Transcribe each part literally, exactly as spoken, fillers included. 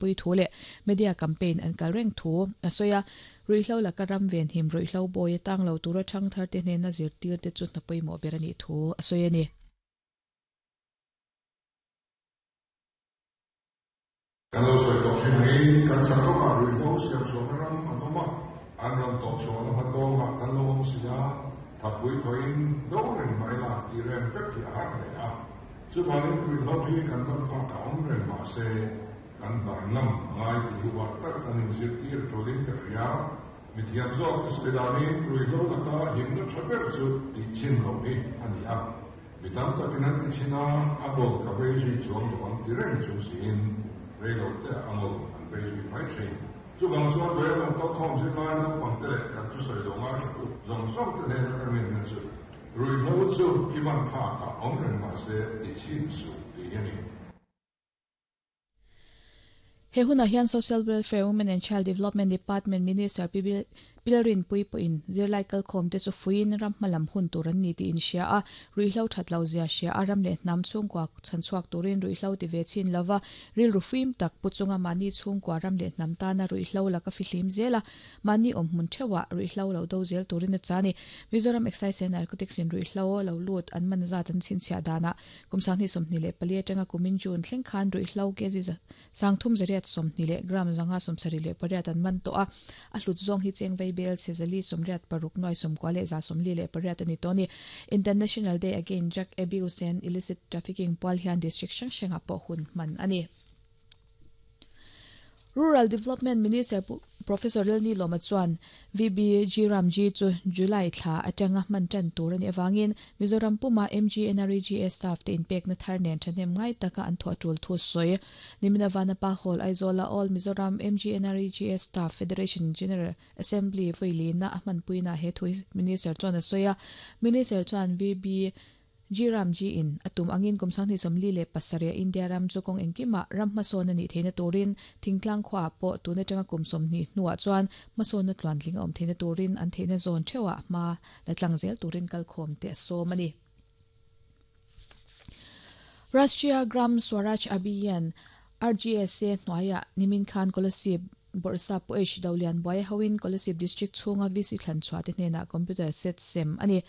Pui thu le media campaign an kal reng thu a soya ruihlo laka ram ven him ruihlo boy tang lo tura thang thar te hnen na zir tir te chu na pawimawh ber ani thu a sawi ani. Kan lo sawi tawh thin angin kan chak rawng ah ruihlo siam chhuahna ram an awm a, an rawn tawh chhuahna hmatawng ah kan lo awm si a, thapui thawin do reng mai la tih rem vek hi a har hle a, chuvangin ruihlo hi kan ban phak a awm reng mah se kan bar ngam ngai tih hi uar tak an inzirtir tulin ka hria. Mithiam zawk ka sawi danin ruihlo laka himna tha ber chu tih chin loh hi a ni a, mi tam takin an ti chin a, a bawk ka vei zui chuang lo ang ti reng chung siin rei lo te a ngol an vei zui mai thin. Chuvang chuan vawi a awm kal khawm zirlai naupang te leh kan thusawi lo ngai thla u zawng zawng te hnena ka ngenna chu ruihlo chu i ban phak ah awm reng mah se ti chin suh tih hi a ni. He hunah hian Social Welfare, Women and Child Development Department Minister Pi Pilrin Pui pawhin zirlai kalkhawm te chu fuiin ram hmalam hun tur an ni tih in hria a, ruihhlo that lo zia hria a, ram leh hnam chhungkua chhanchhuak turin ruihhlo ti ve chin lova rilru fim tak pu chunga mahni chhungkua ram leh hnam tana ruihhlo laka fihlim zel a, mahni awm hmun theuhah ruihhlo lo do zel turin a cha ni. Mizoram Excise and Narcotics in ruihhlo lo lut an man zat an chhinchhiah danah kum sanghnih sawmhnih leh pali atanga kumin June thleng khan ruihhlo kg sangthum zariat sawmhnih leh gram zanga sawmsarih leh pariat an man tawh a, a hlut zawng hi cheng vei bel chezali sawmriat paruk nuai sawmkua leh za sawmli leh pariat a ni tawh a ni. International Day Against Drug Abuse and Illicit Trafficking pual hian district hrang hrangah pawh hun hman a ni. Rural Development Minister Professor Lalni Lawma chuan V B G Ram G chu July thla atanga hman tan tur ani awangin Mizoram puma M G N R E G A staff te inpekna thar nen thahnem ngai taka an thawh tul thu sawi. Nimina Vanapa Hall Aizawl All Mizoram M G N R E G A Staff Federation General Assembly voilina a hmanpuina he thu Minister chuan a sawi a. Minister chuan V B G Ram G in atum angin kum sanghnih sawmli leh pasarih India ram chu kawng engkimah ram hmasawn ani theihna turin thingtlang khuaah pawh tuna tanga kum sawmhnih hnuah chuan hmasawnna tluantling a awm theihna turin an theihna zawn theuhah hma la tlang zel turin kalkhawm te a sawm a ni. Rashtriya Gram Swaraj Abhiyan R G S A hnuaiah nimin khan Kolasib Borsa pawh H Dolian buai hoin Kolasib District chhunga V C thlanchhuah te hnenah computer set sem a ni.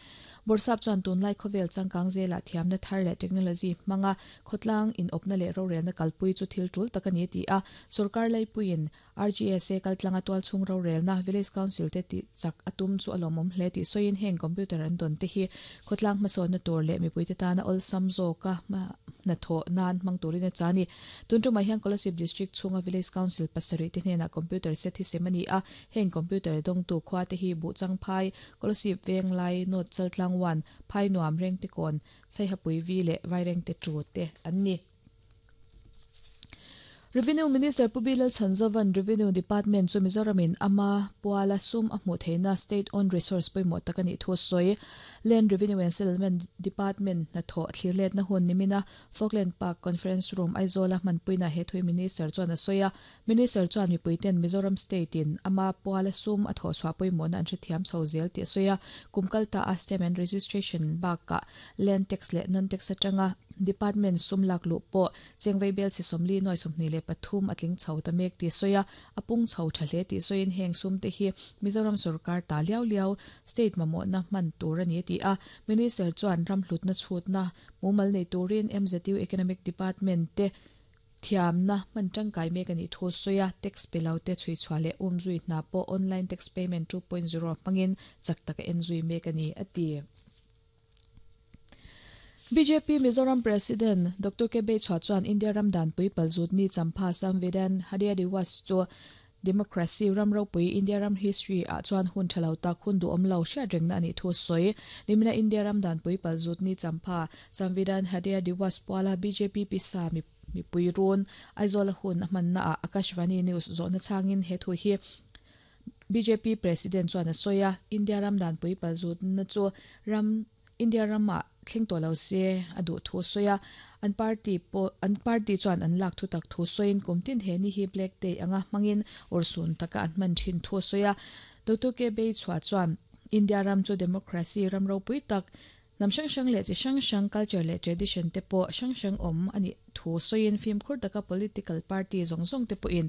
Borsap chuan tunlai khawvel changkang zela thiamna thar leh technology hmanga khawtlang in awpna leh rorelna kalpui chu thil tul tak a ni ti a, sarkar laipuiin R G S A kaltlanga tual chhung rorelna Village Council te ti chak atum chu a lawmawm hle tih sawiin heng computer an dawn te hi khawtlang hmasawnna tur leh mipui te tana awlsam zawka na thaw nan hmang turin a cha ni. Tun tumah hian Kolasib District chhunga Village Council pasarih te hnenah computer set hi sem a ni a, heng computer dawngtu khua te hi Buhchang Phai, Kolasib Venglai, North Chaltlang one, Phai Nuam Reng te kawn, Saihapui V leh Vaireng te tu te an ni. Revenue Minister Pu Bilal Chanzovan Revenue Department chu Mizoramin ama puala sum a hmuh theihna state owned resource pawimawh tak ani thu sawi. Land Revenue and Settlement Department na thaw thlirlet na hun nimina Falkland Park Conference Room Aizawl a hmanpuina he thui Minister chuan a sawi a. Minister chuan mipuiten Mizoram State in ama puala sum a thaw chhuah pawimawh na an hrethiam chho zel tih a sawi a. Kumkalta a stamp and registration bakah land tax leh non tax atanga department sum lak lu pawh chengvei bel chi sawmli nuai sawmhnih leh pathum a tling chho ta mek tih sawi a, a pung chho tha hle tih sawiin heng sum te hi Mizoram sarkar ta liau liau state mamawh na hman tur a ni ti a. Minister chuan ram hlutna chhutna mumal nei turin M Z U Economic Department te thiamna hman tangkai mek ani thu sawi a, tax pelo te chhui chhuah leh um zui hna pawh online tax payment two point zero hmangin chak taka en zui mek ani a ti. B J P Mizoram President Doctor K B Chua chuan India Ramdan pui palzut ni champha Samvidhan Hadya Diwas chu Democracy ram ropui India ram history a chuan hun thalo tak hun du awm lo hriat rengna ani thu sawi. Nimina India Ramdan pui palzut ni champha Samvidhan Hadya Diwas puala B J P pisa mi mi pui run Aizawl hun a hmanna a Akashvani News zawhna changin he thu hi B J P President chuan a sawi a. India Ramdan pui palzut na chu ram India rama thleng tawh lo se a duh thu sawi a. An party pawh an party chuan an lak thu tak thu sawiin kumtin he ni hi Black Day anga hmangin awrsun taka an hman thin thu sawi a. Doctor K B Chua chuan India ram chu democracy ram ropui tak Nam sang sang le chi sang sang culture le tradition te pawh sang sang awm ani thu soin film khur taka political party zawng zawng te pawhin